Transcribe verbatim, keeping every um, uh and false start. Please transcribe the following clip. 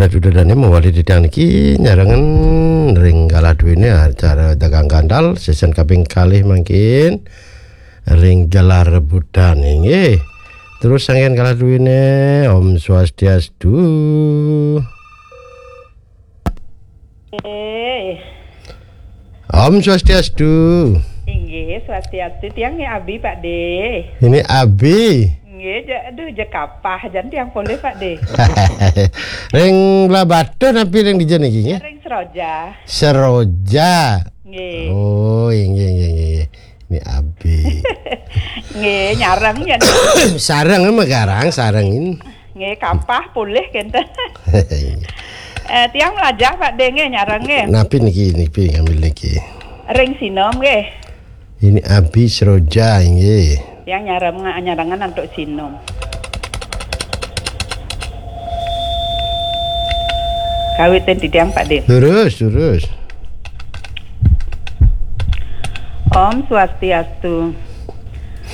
Sudah dane mawali titiang niki nyarengan ring galah duene acara dagang gandal season kaping kalih mangkin ring Gelar Rebutan nggih. Terus sangkan galah duene, Om Swastiastu. Eh, Om Swastiastu. Inggih, swastiastu, tiang nggih abi, Pak De. Ini abi. Nggih, je, aduh, je kapah jan tiang polih, Pak De. Ring Blahbatuh napi ring dija niki nggih? Ring Seroja. Seroja. Nggih. Oh, inggih inggih inggih. Ini abi. Nggih, nyareng jan. Sareng mah garang, sarengin. Nggih, kapah polih kenten. Eh, tiang melajah, Pak De, nggih, nyareng nggih. Napi niki, napi ngambil niki? Ring Sinom nggih. Ini abi Seroja inggih. Tiang nyareng, nyarengan antuk Sinom. Kawitin titiang, Pak De. Terus, terus. Om Swastiastu.